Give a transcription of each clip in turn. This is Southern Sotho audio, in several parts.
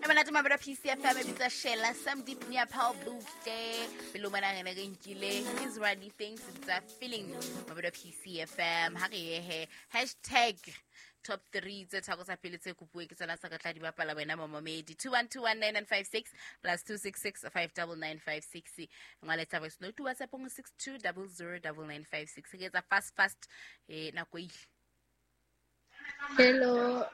E monate mabelo PCFM e bitsa Shela Sam Deep Nia Paul Butle pele o mona re ne re nkile Israeli things tsa feeling mabelo PCFM ha re yehe hashtag top 3 tse tharo tsa pele tse kopuwe ke tsona tsa ka tla di bapala wena momamedi 21219956 plus 266599956 ngwaletsa voice note whatsapp ngo 62009956 ke etsa fast fast eh nako ile. Hello,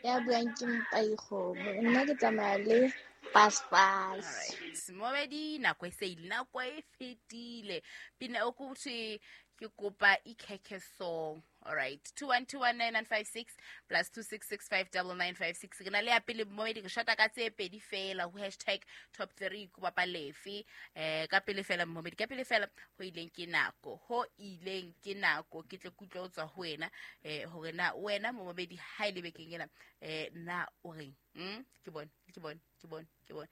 ya buang ke Mpaikgomo. Nna ke tsamaya le Paspas. Alright. Momedi nako e se ile, nako e fetile. Pina o kuthi ke kopa ikhekhe song. Alright. 21219956 plus 266599956. Ke na le ya pele momedi ke shota ka tse pedi fela ho hashtag top 3 ko bapa lefe. Ka pele fela momedi ka pele fela ho ileng ke nako. Ho ileng ke nako ke tle kutlwe ho tswa ho wena hore na wena momedi ha ile bekeng ena na o reng? Ke bone, ke bone, ke bone, ke bone.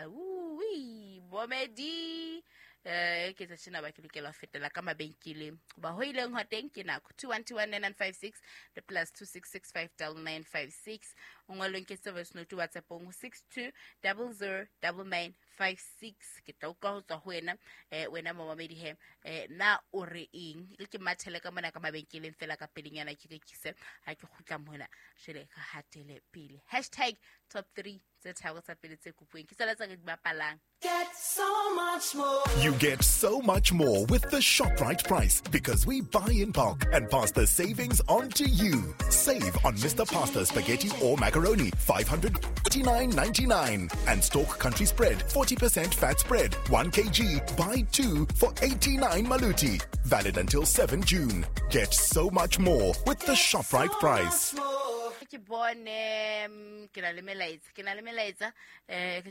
Ui, momedi ke tsa tjena ba ke lokela ho fetela ka mabenkeleng ba ho ileng ho teng ke nako 21219956 le plus 266599956 o ngwalong ke voice note whatsappong 62009956 ke tla utlwa ho tswa ho wena wena momamedi he na o re eng le ke mathele ka mona ka mabenkeleng fela ka pelenyana ke rekise ha ke kgutla mona jwale ka hatele pele hashtag top 3 tse tharo tsa pele tse kopuweng ke tsona tse re di bapalang. Get so much more. You get so much more with the ShopRite price because we buy in bulk and pass the savings on to you. Save on Mr. Pasta spaghetti or macaroni, 549.99, and Stork Country Spread, 40% fat spread, 1 kg, buy 2 for 89 maluti. Valid until 7 June. Get so much more with the ShopRite price. Ke bone ke na le melaetsa, ke na le melaetsa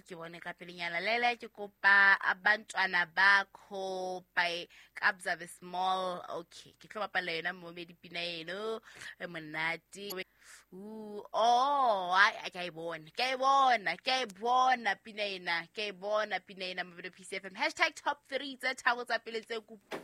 ke bone ka pelenyana lele ke kopa abantwana bakho by Kabza the Small. Okay, ke tlo bapala yona momedi pina eno e monate. Oh, ai ke e bona, ke e bona, ke e bona pina ena, ke e bona pina ena mabelo PCFM hashtag top 3 tse tharo tsa pele tse kopo.